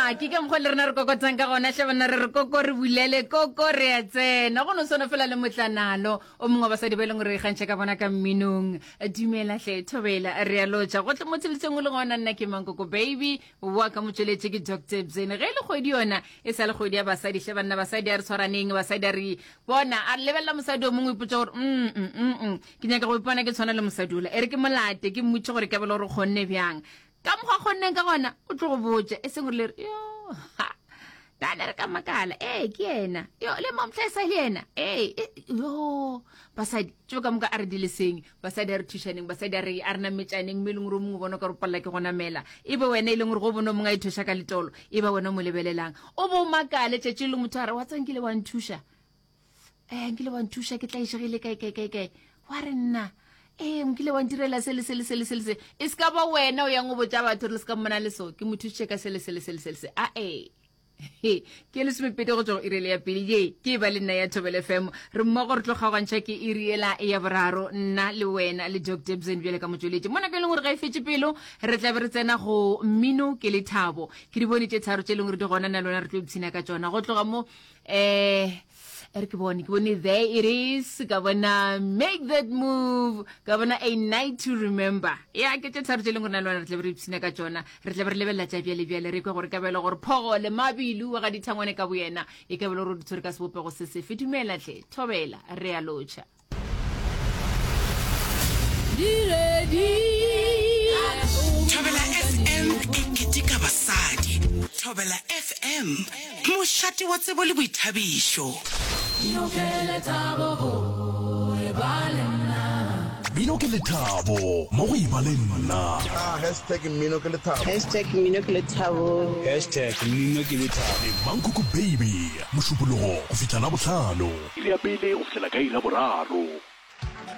Ya, ke ka mokgwa le rena re kokotang ka gona hle banna re re koko re bulele koko re a tsena go no swana fela le motlanalo o mongwe wa basadi ba e leng gore re ikgantšha ka bona ka mminong dumela hle thobela re a lotša gohle mo tsheletseng o le gona nna ke mankoko baby wa ka motšweletše ke Doctor Bzene ge e le kgwedi yona e sa le kgwedi ya basadi hle banna basadi a re tshwaraneng basadi a re bona a re lebelela mosadi o mongwe o ipotša gore mm, mm, mm, mm. ke nyaka go ipona ke tshwana le mosadi ola e re ke molate ke mmotše gore ke bele gore kgonne bjang ka mokgwa kgonneng ka gona o tlo go botša e seng gore le re yo ha nane re ka makala ee ke yena yo le mamhla e sa le yena ee e, yo basadi tšeo ka moka a re di leseng basadi a re thušaneng basadi a re a re nametšaneng mme e leng gore o mongwe bona ka re palela ke go namela e be wena e leng gore go bone o mongwe a ithuša ka letolo e ba wena o mo lebelelang o bo o makale tšatši le motho a re wa tsang kile wa nthuša um nkile wa nthuša ke tlaišegile kae kae kae kae wa re nna ee nkile wa ntirela se le se le se le se le se e se ka ba wena o yang o botša batho re le se ka mmona le so ke mo thušitše ka se le se le se le se le se a ee ke lesomepedi go tšwa go irele ya pele ye ke e ba le nna ya thobel fm re mmogo re tlo kgaogantšha ke iri ela ya boraro nna le wena le doctor bzen bjale ka motšweletši mo nako e leng gore ga e fetše pelo re tla be re tsena go mmino ke lethabo ke di bone tše tharo tše e leng gore di gona na lona re tlo ipshina ka tšona go tloga mo um re ke bone ke bone there it is ka bona make that move ka bona a night to remember ya ke tše tharo tše leng gore na le wena re tlabe re ipshina ka tšona re tlabe re lebelela tša bjale bjale re kwe gore ka bjale gore phogo le mabilu wa ga dithangwane ka boyena e ka bjale gore o di tshwere ka sebopego se sefe dumela tle thobela re a lotšha Thobela FM e keteka basadi. Thobela FM, mošate wa tsebo le boithabišo. Mmino ke lethabo mo go eba le nna. Hashtag mmino ke lethabo. Hashtag mmino ke lethabo. Hashtag mmino ke lethabo. Le Mankoko Baby, Mošupologo go fihla Labohlano. Iri ya pele go fihlela ka iri ya boraro.